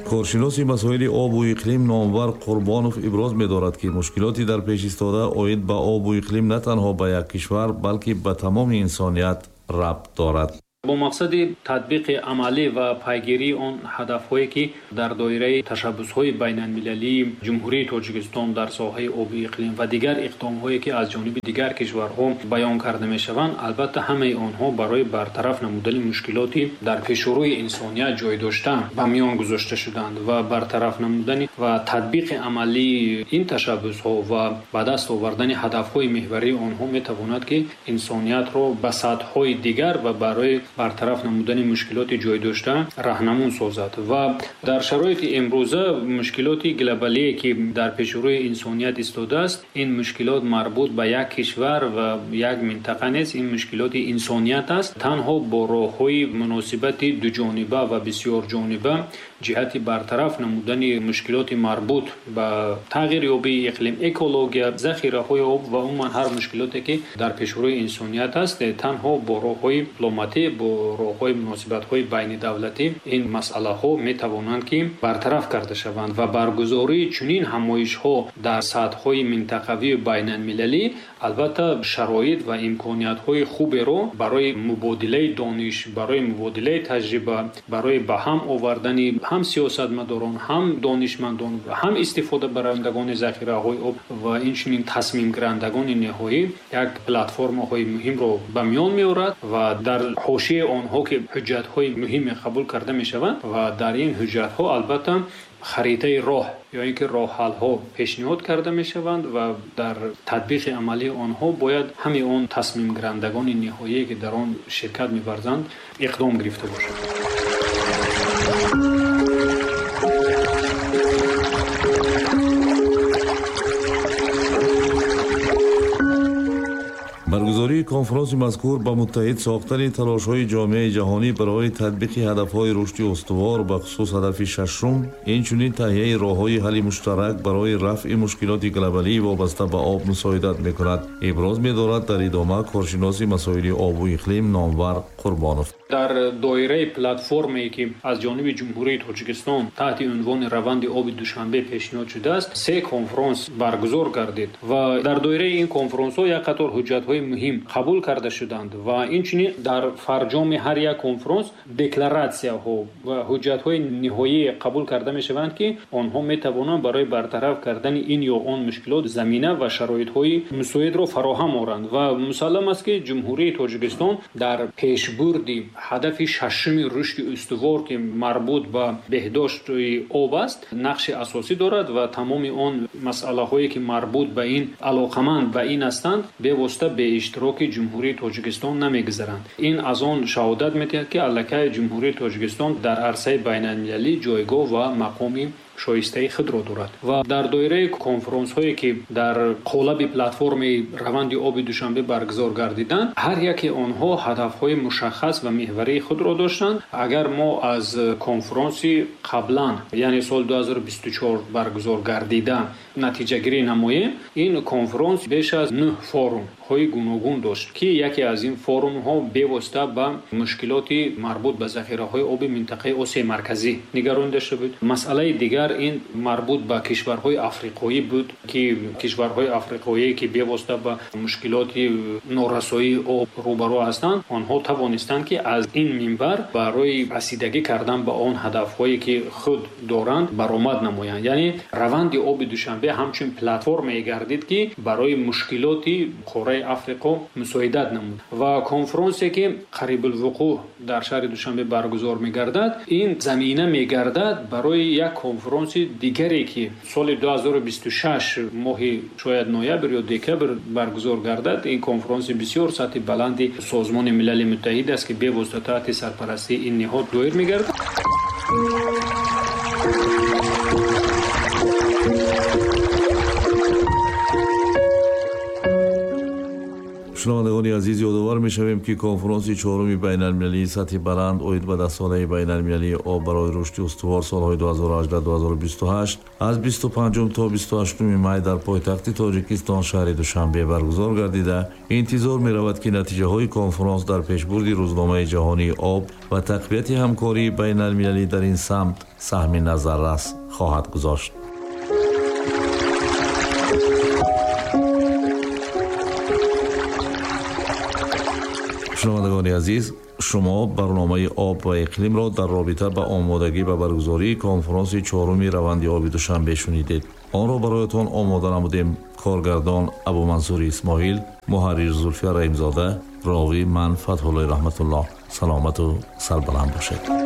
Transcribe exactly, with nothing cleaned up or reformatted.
Коршиноси масоили обу иқлим Номвар Қурбонов иброз медорад, ки мушкилоти дар пеш истода оид ба обу иқлим на танҳо ба як кишвар, балки ба тамоми инсоният рабт дорад. Бо мақсади татбиқи амалӣ ва пайгирии он ҳадафҳое, ки дар доираи ташаббусҳои байналмилалии Ҷумҳурии Тоҷикистон дар соҳаи обу иқлим ва дигар иқдомҳое, ки аз ҷониби дигар кишварҳо баён карда мешаванд, албатта ҳамаи онҳо барои бартараф намудани мушкилоти дар пешрӯи инсоният ҷой дошта ба миён гузошта шуданд ва бартараф намудани ва татбиқи амалии ин ташаббусҳо ва ба даст овардани ҳадафҳои меҳварии онҳо метавонад, ки инсониятро ба сатҳҳои дигар ва барои бартараф намудани мушкилоти ҷой дошта раҳнамун созад. Ва дар шароити имрӯза мушкилоти глобалие, ки дар пешрӯи инсоният истодааст, ин мушкилот марбут ба як кишвар ва як минтақа нест, ин мушкилоти инсоният аст. Танҳо бо роҳҳои муносибати дуҷониба ва бисёрҷониба ҷиҳати бартараф намудани мушкилоти марбут ба тағйирёбии иқлим, экология, захираҳои об ва умуман ҳар мушкилоте, ки дар пешрӯи инсоният аст, танҳо бо роҳҳои дипломатӣ, бо роҳҳои муносибатҳои байнидавлатӣ ин масъалаҳо метавонанд, ки бартараф карда шаванд. Ва баргузории чунин ҳамоишҳо дар сатҳҳои минтақавию байналмилалӣ албатта шароит ва имкониятҳои хуберо барои мубодилаи дониш, барои мубодилаи таҷриба, барои ба ҳам овардани ҳам сиёсатмадорон, ҳам донишмандон, ҳам истифодабарандагони захираҳои об ва инчунин тасмимгирандагони ниҳоӣ як платформаҳои муҳимро ба миён меорад ва дар ҳошияи онҳо ки ҳуҷҷатҳои муҳиме қабул карда мешаванд ва дар ин ҳуҷҷатҳо албатта харитаи роҳ ё ин ки роҳҳалҳо пешниҳод карда мешаванд ва дар татбиқи амалии онҳо бояд ҳамаи он тасмимгирандагони ниҳоие, ки дар он ширкат меварзанд, иқдом гирифта бошанд. Баргузории конфронси мазкур ба муттаҳид сохтани талошҳои ҷомеаи ҷаҳонӣ барои татбиқи ҳадафҳои рушди устувор, ба хусус ҳадафи шашум, инчунин таҳияи роҳҳои ҳалли муштарак барои рафъи мушкилоти глобалӣ вобаста ба об мусоидат мекунад, иброз медорад дар идома коршиноси масоили обу иқлим Номвар Қурбонов. Дар доираи платформае, ки аз ҷониби Ҷумҳурии Тоҷикистон таҳти унвони раванди оби Душанбе пешниҳод шудааст, се конфронс баргузор гардид ва дар доираи ин конфронсҳо як қатор ҳуҷҷатҳои муҳим қабул карда шуданд ва инчунин дар фарҷоми ҳар як конфронс декларатсияҳо ва ҳуҷҷатҳои ниҳоӣ қабул карда мешаванд, ки онҳо метавонанд барои бартараф кардани ин ё он мушкилот замина ва шароитҳои мусоидро фароҳам оранд. Ва мусаллам аст, ки Ҷумҳурии Тоҷикистон дар пешбурди ҳадафи шашуми рушди устувор, ки марбут ба беҳдошти об аст, нақши асосӣ дорад ва тамоми он масъалаҳое, ки марбут ба ин алоқаманд ба ин ҳастанд, бевосита бе иштироки Ҷумҳурии Тоҷикистон намегузаранд. Ин аз он шаҳодат медиҳад, ки аллакай Ҷумҳурии Тоҷикистон дар арсаи байналмилалӣ ҷойгоҳ ва мақоми шоистаи худро дорад. Ва дар доираи конфронсҳое, ки дар қолаби платформаи раванди оби Душанбе баргузор гардиданд, ҳар яке онҳо ҳадафҳои мушаххас ва меҳварии худро доштанд. Агар мо аз конфронси қаблан, яъне соли ду ҳазору бисту чор баргузор гардида, натиҷагирӣ намоем, ин конфронс беш аз нӯҳ форумҳои гуногун дошт, ки яке аз ин форумҳо бевосита ба мушкилоти марбут ба захираҳои оби минтақаи Осиёи Марказӣ нигаронида шуда буд. Масъалаи дигар ин марбут ба кишварҳои африқоӣ буд, ки кишварҳои африқоие, ки бевосита ба мушкилоти норасоии об рӯбарӯ ҳастанд, онҳо тавонистанд, ки аз ин минбар барои расидагӣ кардан ба он ҳадафҳое, ки худ доранд, баромад намоянд. Яъне раванди оби Душанбе ҳамчун платформае гардид, ки барои мушкилоти қораи Африқо мусоидат намуд. Ва конфронсе, ки қарибулвуқӯъ дар шаҳри Душанбе баргузор мегардад, ин замина мегардад барои як конфронси дигаре, ки соли ду ҳазору бисту шаш моҳи шояд ноябр ё декабр баргузор гардад. Ин конфронси бисёр сатҳи баланди Созмони Милали Муттаҳид аст, ки бевосита таҳти сарпарастии ин ниҳод доир мегардад. Шунавандагони азиз, ёдовар мешавем, ки конфронси чоруми байналмилалии сатҳи баланд оид ба даҳсолаи байналмилалии об барои рушди устувор солҳои ду ҳазору ҳаждаҳ ду ҳазору бисту ҳашт аз бисту панҷум то бисту ҳаштуми май дар пойтахти Тоҷикистон шаҳри Душанбе баргузор гардида, интизор меравад, ки натиҷаҳои конфронс дар пешбурди рӯзномаи ҷаҳонии об ва тақвияти ҳамкории байналмилалӣ дар ин самт саҳми назаррас хоҳад гузошт. Шунавандагони азиз, шумо барномаи об ва иқлимро дар робита ба омодагӣ ба баргузории конфронси чоруми раванди оби Душанбе шунидед. Онро бароятон омода намудем коргардон Абумансури Исмоил, муҳаррир Зулфия Раҳимзода, ровӣ ман Фатҳуллои Раҳматуллоҳ. Саломату сарбаланд бошед.